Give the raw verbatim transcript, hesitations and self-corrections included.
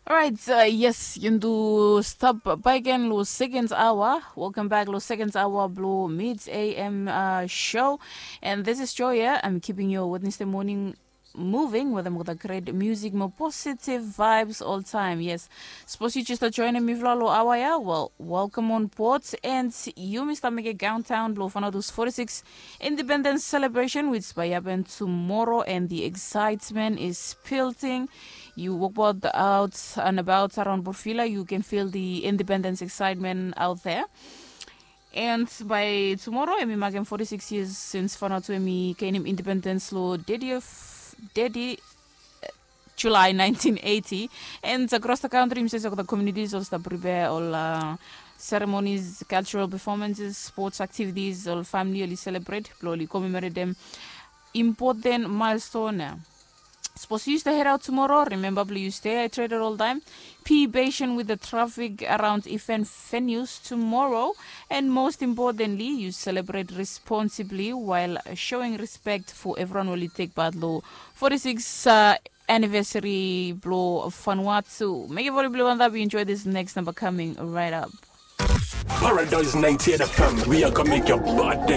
Alright, uh, yes, yundu stap back again lo second hour. Welcome back lo second hour blo mid A M uh, show. And this is Joy, yeah? I'm keeping your Wednesday morning moving with them with a great music, more positive vibes all time. Yes. Suppose you just are joining me vlog lo hour, yeah? Well, welcome on board. And you, Mister Mega Downtown, blo fana those forty-six Independence celebration, which by happen tomorrow, and the excitement is building. You walk about out and about around Borfila, you can feel the independence excitement out there. And by tomorrow, emi makem forty-six years since Vanuatu emi gainim independence lo thirtieth, thirty, uh, July nineteen eighty. And across the country, imi save the communities ol stap prepare ol uh, ceremonies, cultural performances, sports activities, ol family oli celebrate, blo oli commemorate dem important milestone. Suppose you stay head out tomorrow, remember please stay hydrated all time. Be patient with the traffic around event venues tomorrow. And most importantly, you celebrate responsibly while showing respect for everyone will take part lo forty-six uh, anniversary blo Vanuatu. Make everybody blo Vanuatu enjoy this next number coming right up. Paradise ninety-eight F M, we are gonna make your body